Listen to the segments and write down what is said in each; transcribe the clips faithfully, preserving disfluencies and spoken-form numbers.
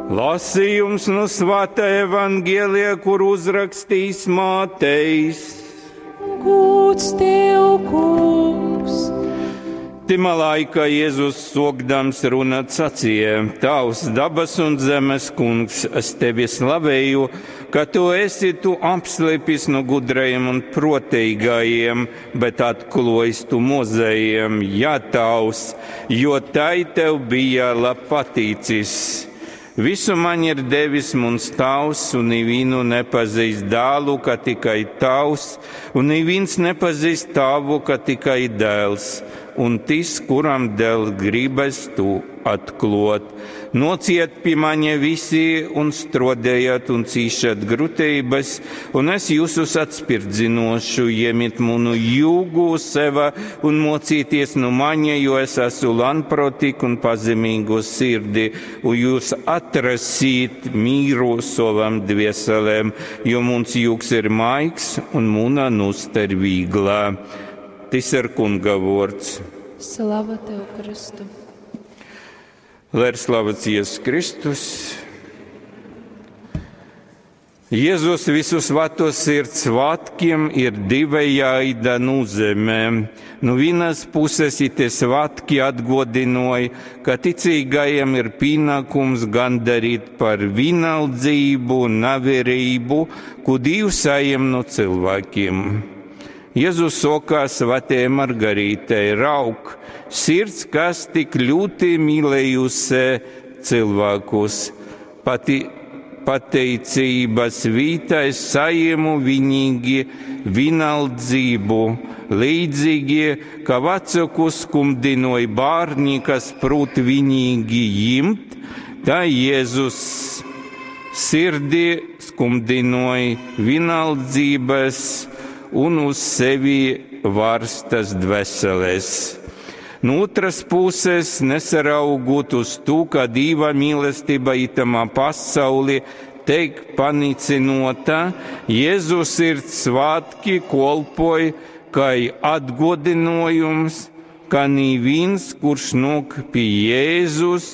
Lasījums no Svētā Evangelija, kur uzrakstījis Mātejs. Gūds tev, kungs! Timā laikā Jēzus sokdams runāt sacīja: Tavs dabas un zemes kungs, es tevi slavēju, ka tu esi tu apslēpis no gudrajiem un protīgajiem, bet atklājis tu mozējiem, jā, tavs, jo tai tev bija labpatīcis. Visu man ir devis mans tavs, un nevienu nepazīst dēlu, ka tikai tavs, un neviens nepazīst tavu, ka tikai dēls, un tis, kuram dēl gribas tu atklot. Nociet pie mani visi un strodējat un cīšat grūtības, un es jūsus atspirdzinošu, iemiet manu jūgu seva un mocīties no mani, jo es esmu lanprotīg un pazemīgu sirdi, un jūs atrasīt mīru savam dvieselēm, jo muns jūgs ir maigs un muna nusta ir vīglā. Tis ir kunga vārds. Slava tev, Kristu! Lai ir slavēts Jēzus Kristus. Jēzus visu svēto sirds svētkiem ir divējāda nozīme. No vienas puses tie svētki atgodinoja, ka ticīgajiem ir pienākums gandarīt par vienaldzību un navērību, ko Dievs saņem no cilvēkiem. Jēzus sokā svētajai Margarītei: rauk, sirds, kas tik ļoti mīlējusi cilvēkus, pati pateicības vītā es saņemu vienīgi vienaldzību, līdzīgi, ka vecāku skumdinoja bērni, kas prot vienīgi jimt, tā Jēzus sirdi skumdinoja vienaldzības un uz sevi varstas dvēseles. No otras puses, nesaraugot uz to, ka Dieva mīlestība itamā pasaulī teik panicinota, Jēzus ir svētki kolpoja kā atgodinojums, ka neviens, kurš nāk pie Jēzus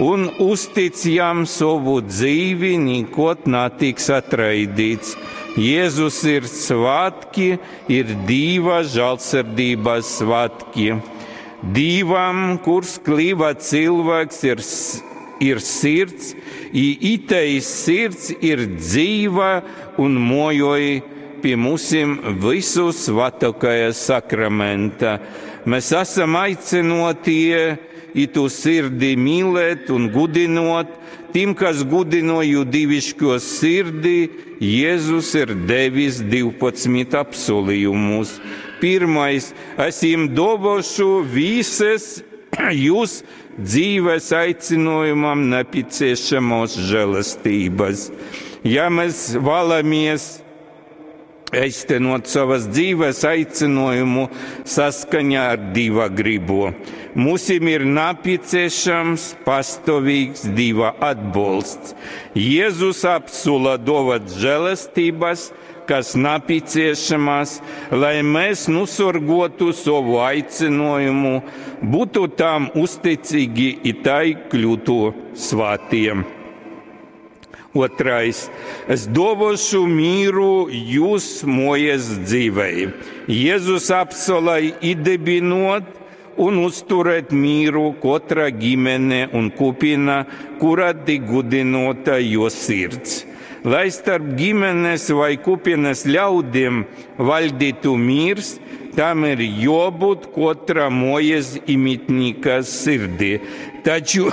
un uztic jam savu dzīvi, nekot netiks atraidīts. Jēzus ir svētki, ir Dieva žēlsirdības svētki. Dievam, kurš kļuva cilvēks, ir, ir sirds, i itei sirds ir dzīva un mojoja pie mūsim visu svētākajā sakramenta. Mēs esam aicinotie itu sirdi mīlēt un gudinot. Tiem, kas gudinoju divišķo sirdi, Jēzus ir devis divpadsmit apsolījumus. Pirmais, es jums dovošu visas jūs dzīves aicinājumam nepieciešamos žēlastības. Ja mēs vēlamies īstenot savas dzīves aicinājumu saskaņā ar Dieva gribu, mums ir nepieciešams pastāvīgs Dieva atbalsts. Jēzus apsola dovat žēlastības, kas nepieciešamas, lai mēs nosorgotu savu aicinājumu, būtu tam uzticīgi i tai kļūtu svētiem. Otrais, es dovošu mīru jūs mojas dzīvei. Jēzus apsolai iedibinot un uzturēt mīru katra ģimene un kopiena, kurā tik gudinota jo sirds. Lai starp ģimenes vai kopienas ļaudīm valdītu miers, tam ir jābūt katra mojas imitnika sirdī. Taču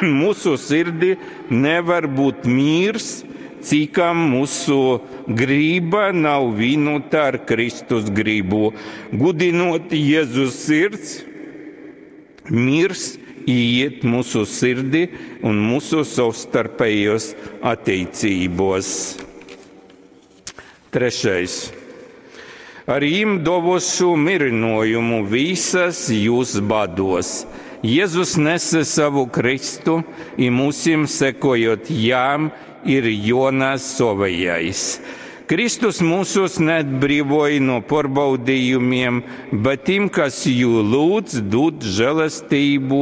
mūsu sirdī nevar būt miers, cikam mūsu griba nav vienota ar Kristus gribu. Gudinot Jēzus sirds, miers iet mūsu sirdī un mūsu savstarpējos attiecībos. Trešais. Ar jim dovošu mirinojumu visas jūs bados. Jēzus nese savu Kristu, i mūsim sekojot jām ir Jonas savējais. Kristus mūsus neatbrīvoja no pārbaudījumiem, bet tiem, kas jū lūdz, dod žēlastību,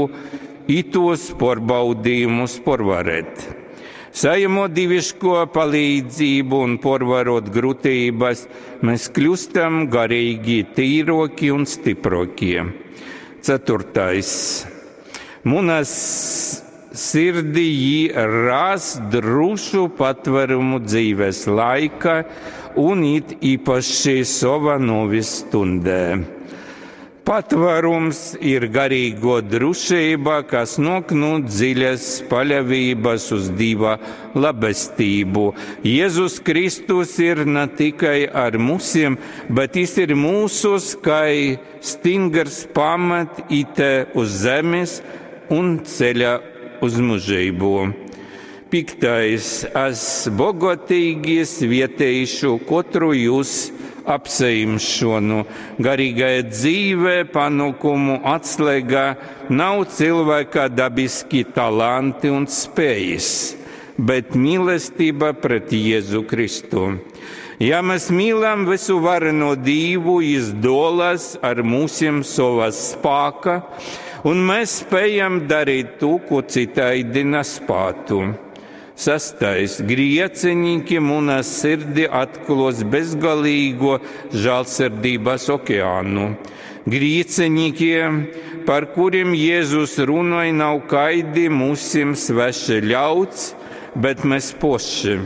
itos pārbaudījumus pārvarēt. Sajamot dīviško palīdzību un porvarot grūtības, mēs kļūstam garīgi tīroki un stiprokie. Ceturtais. Munas sirdī jī ras drošu patvērumu dzīves laika un it īpaši sova novis stundē. Patvērums ir garīgo drošība, kas nāk no dziļas paļāvības uz Dieva labestību. Jēzus Kristus ir ne tikai ar musiem, bet jis ir mūsus, kai stingrs pamat ite uz zemes un ceļa uz mūžību. Piktais, es bogotīgi svietēšu katru jūs apseimšanu. Garīgā dzīve, panākumu atslēgā nav cilvēka dabiski talanti un spējas, bet mīlestība pret Jēzu Kristu. Ja mēs mīlam visu vareno Dievu, jis dolas ar mūsiem savā spāka, un mēs spējam darīt to, ko citaidi nespētu. Sastais. Griecenīki munā sirdi atklos bezgalīgo žēlsirdības okeānu. Griecenīkie, par kuriem Jēzus runāja, nav kaidi mūsim sveši ļauts, bet mēs poši.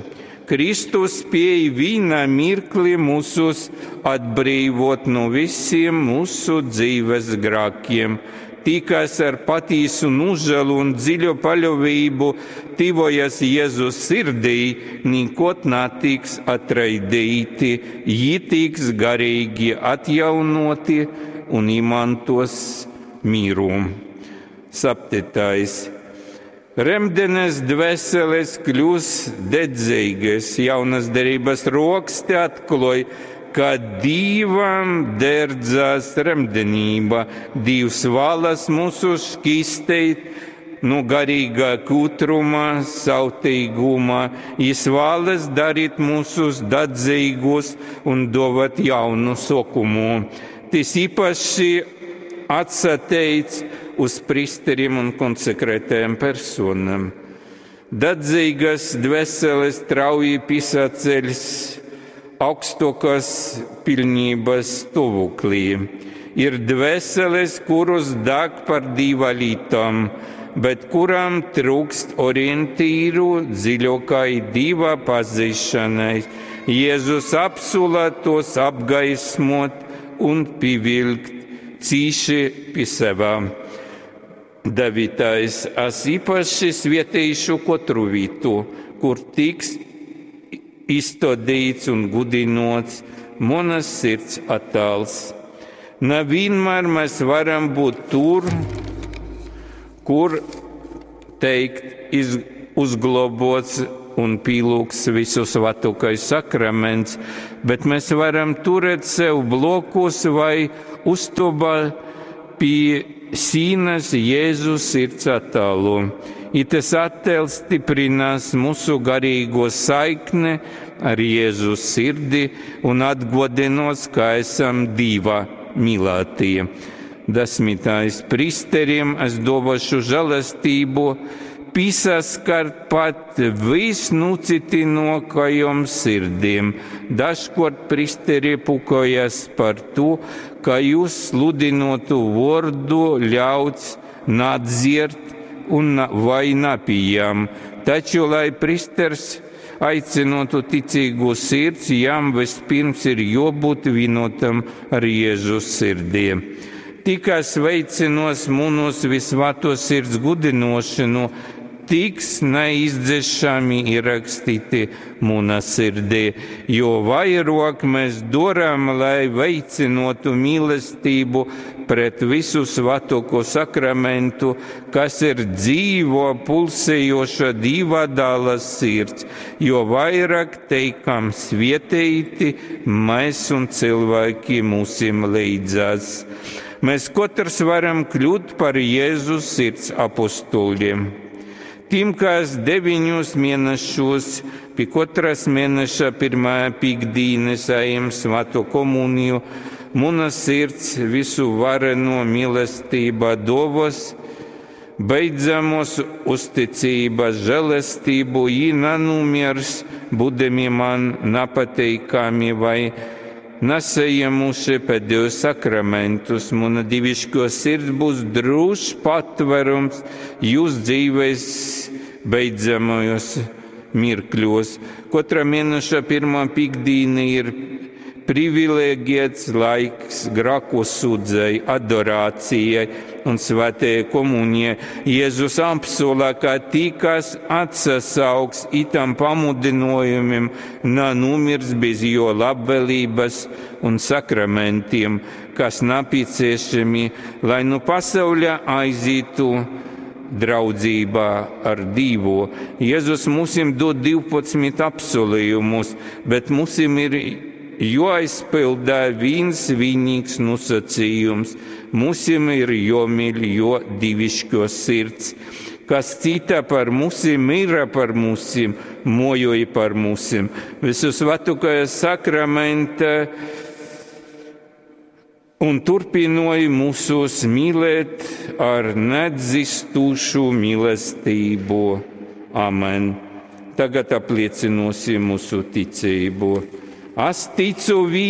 Kristus spēj vienā mirklī mūsus atbrīvot no visiem mūsu dzīves grēkiem. Tī, kas ar patīsu nožēlu un dziļu paļāvību tuvojas Jēzus sirdī, nekot netiks atraidīti, jī tiks garīgi atjaunoti un imantos mīru. Septītais. Remdenes dvēseles kļūs dedzīgas, jaunas derības roksti atklāj, ka Dievam derdzās remdenība. Dievs vēlas mūsu šķīstīt no garīgā kūtruma, sautīguma. Jis vēlas darīt mūsus dedzīgus un dovat jaunu sokumu. Tas īpaši atsateic uz pristeriem un konsekrētajām personām. Dedzīgas dvēseles strauji pisaceļs augstākās pilnības stāvoklī. Ir dvēseles, kurus deg par Dieva lietām, bet kurām trūkst orientīru dziļākai Dieva pazīšanai. Jēzus apsula tos apgaismot un pievilkt cīši pie sevā. Devītais. Es īpaši svētīšu katru vietu, kur tiks izstādīts un gudinots manas sirds attēls. Ne vienmēr mēs varam būt tur, kur teikt, iz, uzglobots un pielūgs visu svētākais sakraments, bet mēs varam turēt sev blokus vai uztobā pie sīnas Jēzus sirds attēlu. I tas attēls stiprinās mūsu garīgo saikni ar Jēzus sirdi un atgodinos, ka esam Dieva mīlētie. Desmitais. Pristeriem es dovošu žēlastību, piesaskart pat visnucitinokajom sirdīm. Dažkārt pristeri pukojas par to, ka jūs sludinotu vārdu ļauts nadziert un vai napījam. Taču, lai pristers aicinotu ticīgu sirds, jām vispirms ir jābūt vienotam ar Jēzus sirdī. Tikai sveicinos munus visvato sirds gudinošanu, tiks neizdzēšami ierakstīti mūna sirdī, jo vairāk mēs darām, lai veicinotu mīlestību pret visu svētāko sakramentu, kas ir dzīvo pulsējoša Dieva dēla sirds, jo vairāk teikam svētīti mēs un cilvēki mūsim līdzās. Mēs katrs varam kļūt par Jēzus sirds apustuļiem. Tiem, kas deviņus mēnešos pie katras mēneša pirmā piekdienas saņem svēto komuniju, mana sirds visu vareno mīlestība dovos, Beidzamos uzticības žēlastību, jī nanūmiers, būdami man napateikami vai nasajiemuši pēdējos sakramentus. Muna divišķo sirds būs drūšs patverums jūs dzīves beidzamajos mirkļos. Katra mēneša pirmā piktdīna ir privileģēts laiks grēku sūdzei, adorācijai un svētajai komunijai. Jēzus apsola, ka tī, kas atsasauks itam pamudinojumiem, nanomirs bez jo labvēlības un sakramentiem, kas nepieciešami, lai nu pasauļa aizītu draudzībā ar Dievu. Jēzus mums dod divpadsmit apsolījumus, bet mums ir jāizpilda viens vienīgs nosacījums. Mums ir jāmīl jo dievišķo sirds, kas cita par mūsim, mira par mūsim, mojoja par mūsim. Visusvētākajā sakramenta un turpināja mūsus mīlēt ar nedzistošu mīlestību. Amen. Tagad apliecināsim mūsu ticību. Es ticu vienam.